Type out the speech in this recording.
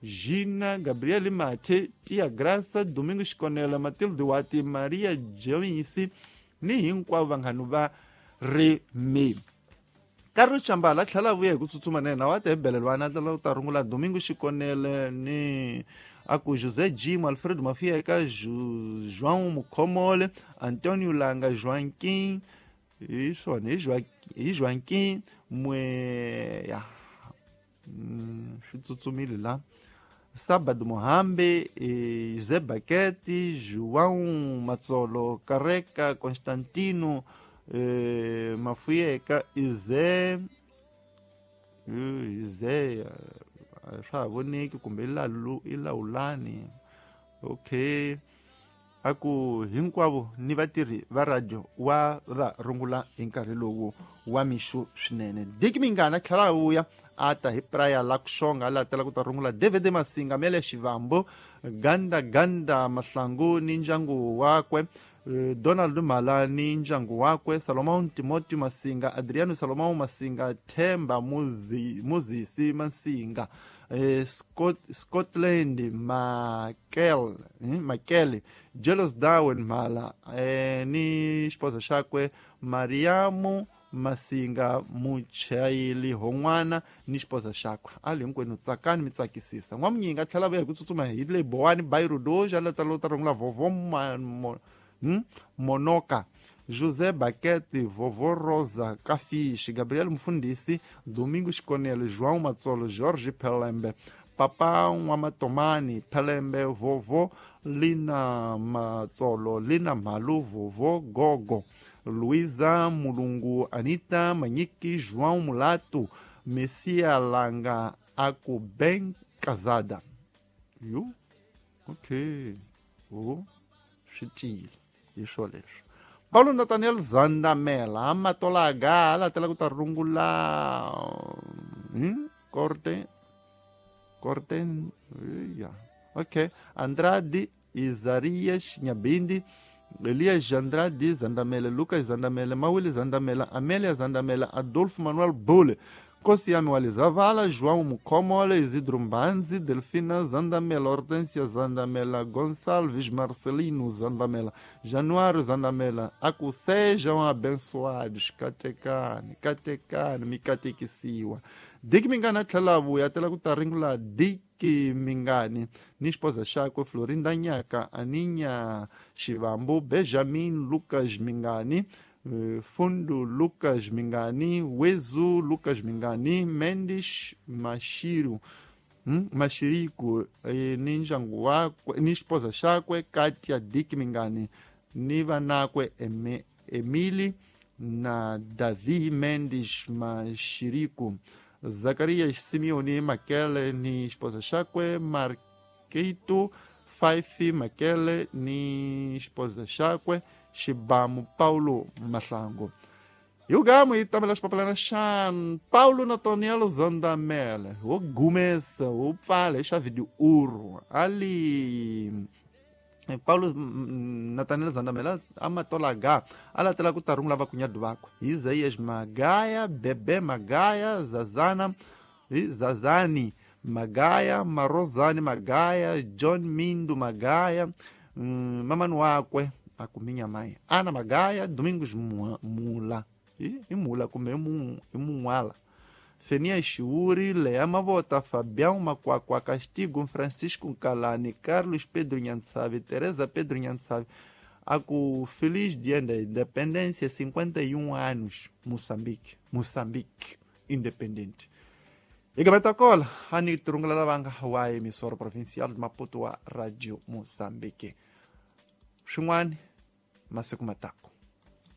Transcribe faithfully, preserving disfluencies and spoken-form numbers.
Gina, Gabriele Mathe, Tia Graça, Domingos Conela, Matilde Wati, Maria Joyce ni hinkwavo vanghana va Remi. Carlos Chambala tlhela vuya hi ku tsutsuma na yena wa ta hi belelwana tlhela u ta rungula Domingo Xikonele ni a ku José Jim, Alfredo Mafieka, João Mukhomole, Antonio Langa, Joaquim, hi swona hi Joaquim Mwe ya swi tsutsumile la Sabado Mohambe, José Baketi, João Matsolo, Careca, Constantino eh, Mafueka, Ize Ize swa ha voneki kumbe i Lawulani. Okay, a ku hinkwavo ni vatirhi va radio wa va rungula hi nkarhi lowu wa mixo swinene. Dick Mingana tlhela vuya a ta hi Praia la Kuxonga la tela ku ta rungula David Masinga, Mele Xivambo, Ganda Ganda Mahlangu ni ndyangu wakwe, Donald Mala ni ndyangu wakwe, Salomão Timothy Masinga, Adriano Salomão Masinga, Themba Muzi, Muzisi Masinga, eh, Scott, Scotland Makel, eh, Makele, Jealous Darwin Mala, eh, ni xiposa xakwe Mariamu Masinga, Muchayili Hon'wana ni xiposa xakwe. A li hinkwenu tsakani mi tsakisisa. N'wamunyinga tlhela vuya hi ku tsutsuma hi le Bowani Bairro Doja la tala ta rungula Vovo mo, hmm? Monoka, José Baquete, Vovó Rosa Cafiche, Gabriel Mfundisi, Domingos Conelo, João Matsolo, Jorge Pelembe, Papa Nwamatomani Pelembe, Vovó Lina Matsolo, Lina Malu, Vovó Gogo, Luísa Mulungu, Anita Maniki, João Mulato, Messia Langa, Aku bem casada. Viu? Ok. Oh, xitile. Hi swoleswo. Paulo Nathaniel Zandamela, Amatola Gala, tela ku ta rungula hmm? Corte Corte yeah. Ok. Andrade Isarias Nyabindi, Elias Andrade Zandamela, Lucas Zandamela, Mawili Zandamela, Amélia Zandamela, Adolfo Manuel Bule, Kosiami Walizavala, João Mukomole, Isidro Mbanzi, Delfina Zandamela, Hortência Zandamela, Gonçalves Marcelino Zandamela, Januário Zandamela. Aku sejam abençoados, katekani, katekani, mikatekisiwa. Dick Mingani tlhela vuya tela ku ta ringula Dick Mingani ni xipoza xakwe Florinda Nyaka, Aninya Xivambu, Benjamin Lucas Mingani, Fundo Lucas Mingani, Wezu Lucas Mingani, Mendes Mashiro, hmm? Mashiriku, eh, ni ndyangu wakwe ni xipoza xakwe Katia Dick Mingani ni vanakwe Eme, Emily na Davi Mendes Mashiriku, Zacarias Simeone Makele ni esposa xakwe Marquito Faifi Makele ni esposa xakwe Xibamu Paulo Mahlangu. Yugamu yi tamela xipapalana xa Paulo Nathaniel Zandamela wo gumesa wo pfala hi xa video ali Paulo Nathaniel Zandamela amatola ga alatela ku ta rungula vakunyadu vakwe Isaías Magaya, Bebe Magaya, Zazana Zazani Magaya, Marozani Magaya, John Mindo Magaya, hum, mamani wakwe akuminya mai Ana Magaya, Domingos Mula i Mula kumbe i Munwala, Fenia Chiuri, Lea Mavota, Fabião Macuacua Castigo, Francisco Calani, Carlos Pedro Nhansavi, Teresa Pedro Nhansavi. Aku feliz dia da independência, cinquenta e um anos, Moçambique, Moçambique independente. Igabetakola, ani turungula lavanga wa emissora provincial de Maputo wa Radio Moçambique. Xin'wani masiku matako.